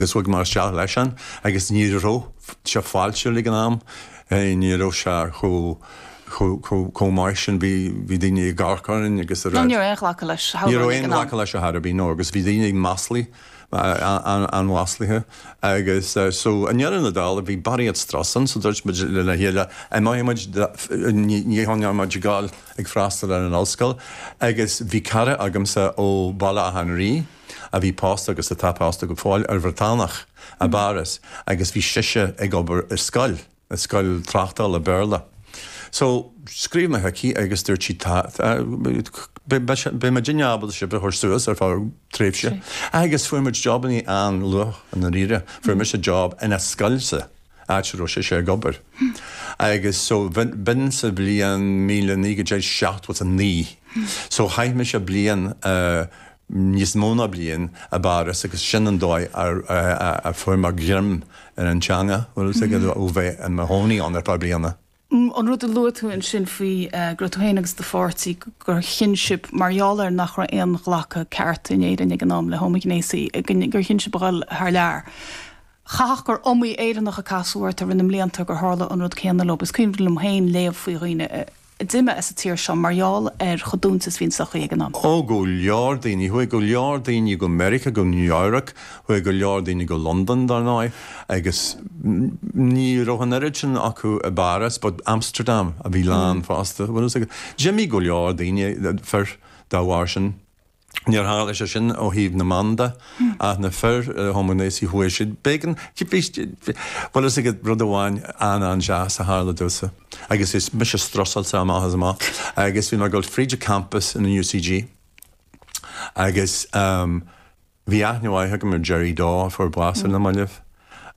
Agus chuaigh mé isteach leisean agus ní raibh sé fáiltiúil ag an am, ní raibh sé chomh, chomh, chomh maith sin, bhí, bhí daoine ag amharc orainn agus a rá. Ní raibh aon ghlacadh leis, Ní raibh aon ghlacadh leis ar chor ar bith, no, agus bhí daoine ag maslaí, an-mhaslaithe agus so i ndeireadh na dála bhí barraíocht strus ann so dúirt muid lena chéile, imeoidh muid, ní, ní choinneoidh muid ag gabháil ag freastal ar an ollscoil agus bhí cara agamsa ó Bhaile Átha an Rí, a bhí pósta agus atá pósta go fóill ar Bhriotánach i bPáras agus bhí sise ag obair i scoil, i scoil tráchtála Béarla. So, scríobh mé chuici agus dúirt sí tá, beidh muidinne ábalta sibh a chur suas ar feadh tréimhse. Agus fuair muid jobannaí an-luath i ndáiríre. Fuair mise job ina scoilsa. áit a raibh sise ag obair. Agus so b'in sa bhliain 1979. So chaith mise bliain, níos mó ná bliain, i bPáras agus sin an dóigh a fuair mé greim ar an teanga, bhfuil fhios agat, ó bheith i mo chónaí ann ar feadh bliana. An rud a luaigh tú ansin faoi go raibh tú féin agus do pháirtí, gur chinn sibh, mar gheall ar nach raibh aon ghlacadh ceart in Éirinn ag an am le homaighnéasaigh, gur chinn sibh a dhul thar lear. Chaithfeadh gur iomaí Éireannach a casadh ort i rith na mblianta gur tharla an rud céanna leo. Is cuimhin liom féin léamh faoi dhaoine a d'imigh as an tír seo mar gheall ar chomh dúinte is a bhí an tsochaí ag an am. Ó, go leor daoine. Chuaigh go leor daoine go Meiriceá, go New Eabhrac, chuaigh go leor daoine go Londain, dar ndóigh, agus ní raibh an oiread sin acu i bPáras, but Amsterdam a bhí lán fosta, bhfuil fhios agat. D'imigh go leor daoine, fir, dá bharr sin. Níor tharla sé sin ó thaobh na mban de, ach na fir homaighnéasaigh chuaigh siad. B'éigean, bhí, bhfuil fhios agat rud amháin an-an-deas a tharla domhsa, agus bhí mise strusáilte amach is amach, agus bhí mé ag dul fríd an campus in UCG, agus bhí aithne mhaith agam ar Jerry Dawe a fuair bás ar na mallaibh,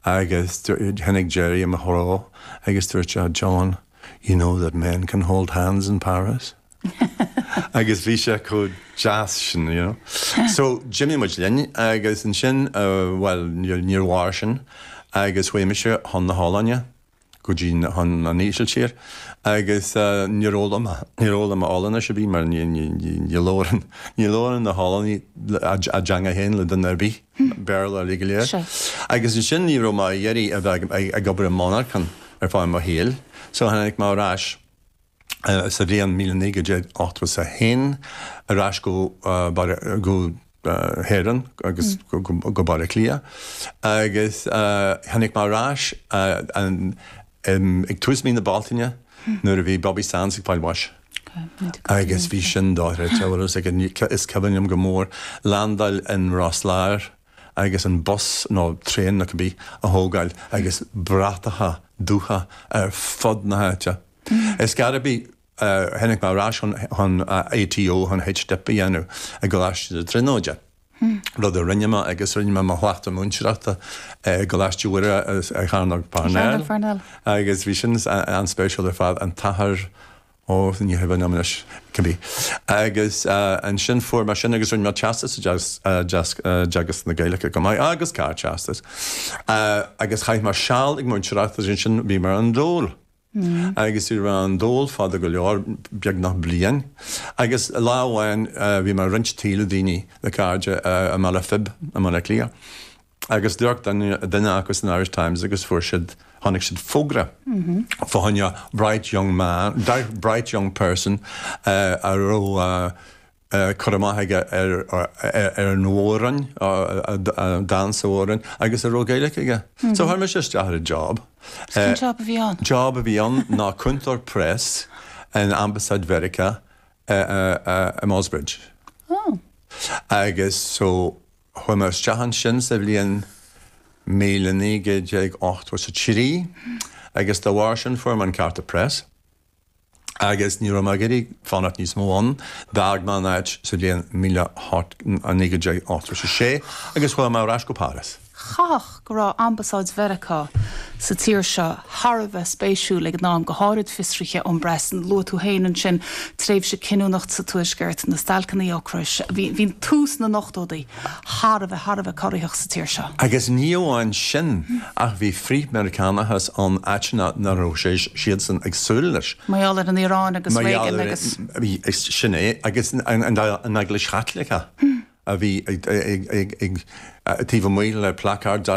agus tháinig Jerry i mo threo agus dúirt sé, John, you know that men can hold hands in Paris? Agus bhí sé chomh deas sin, you know. So, d'imigh muid linn agus ansin, bhuel, níor mhair sin agus chuaigh mise chun na hOllainne, go dtí chun an Ísiltír agus níor fhoghlaim, níor fhoghlaim mé Ollainnis ar bith mar ní, ní, ní labhrann, ní labhrann na hOllannaigh a dteanga féin le duine ar bith, Béarla uilig go léir. Agus ansin ní raibh mé ag iarraidh a bheith ag obair i monarchan ar feadh mo shaoil, so tháinig mé ar ais. sa bhliain 1981 ar ais go go hÉireann agus go Baile Átha Cliath agus tháinig mé ar ais ag tús mí na Bealtaine nuair a bhí Bobby Sands ag fáil bháis. Agus bhí sin dochreidte, bhfuil fhios agat, is cuimhin liom go mór landáil in Ros Láir agus an bus nó traein nó cibé a thógáil agus bratacha dubha ar fud na háite. Is gar a bhí, tháinig mé ar ais chun ATO, chun H-Dip a dhéanamh i gColáiste na Tríonóide, rud a rinne mé agus rinne mé mo chleachtadh múinteoireachta i gColáiste Mhuire i Chearnóg Parnell agus bhí sin an-spéisiúil ar fad, an t-athair, ó, ní cuimhin liom anois, cibé. Agus ansin fuair mé sin agus rinne mé teastas i dteagasc na Gaeilge go maith agus Ardteastas agus chaith mé seal ag múinteoireacht agus ansin bhí mé ar an dól. Agus bhí mé ar an dól fada go leor, beagnach bliain. Agus lá amháin bhí mé ag roinnt tí le daoine, le cairde i mBaile Phib i mBaile Átha Cliath. Agus d'amharc duine acu san Irish Times agus fuair siad, chonaic siad fógra fá choinne bright young man, bright young person a raibh cur amach aige ar an Mhór-Roinn, dán sa Mhór-Roinn, agus a raibh Gaeilge aige. So chuir mise isteach ar an job. Cén job a bhí ann? Job a bhí ann ná cúntóir press in Ambasáid Mheiriceá i Ballsbridge. Oh. Agus so chuaigh mé isteach ansin sa bhliain 1983 agus dá bharr sin fuair mé an cárta press. agus ní raibh mé ag iarraidh fanacht níos mó ann. D'fhág mé an áit sa bhliain 1986 agus chuaigh mé ar ais go Páras. Chaithfeadh go raibh Ambasáid Mheiriceá sa tír seo thar a bheith spéisiúil ag an am, go háirid fiosruithe ón bpress. Luaigh tú féin ansin tréimhse cinniúnach sa Tuaisceart, na stailceanna ocrais. Bhí tús na n-ochtóidí thar a bheith, thar a bheith corraitheach sa tír seo. Agus ní amháin sin, ach bhí frith-Meiriceánachas ann áiteanna nach raibh sé, siadsan ag súil leis. Mar gheall ar an Iaráin agus Reagan agus. Sin é, agus an Eaglais Chaitliceach. a bhí ag taobh amuigh le placard.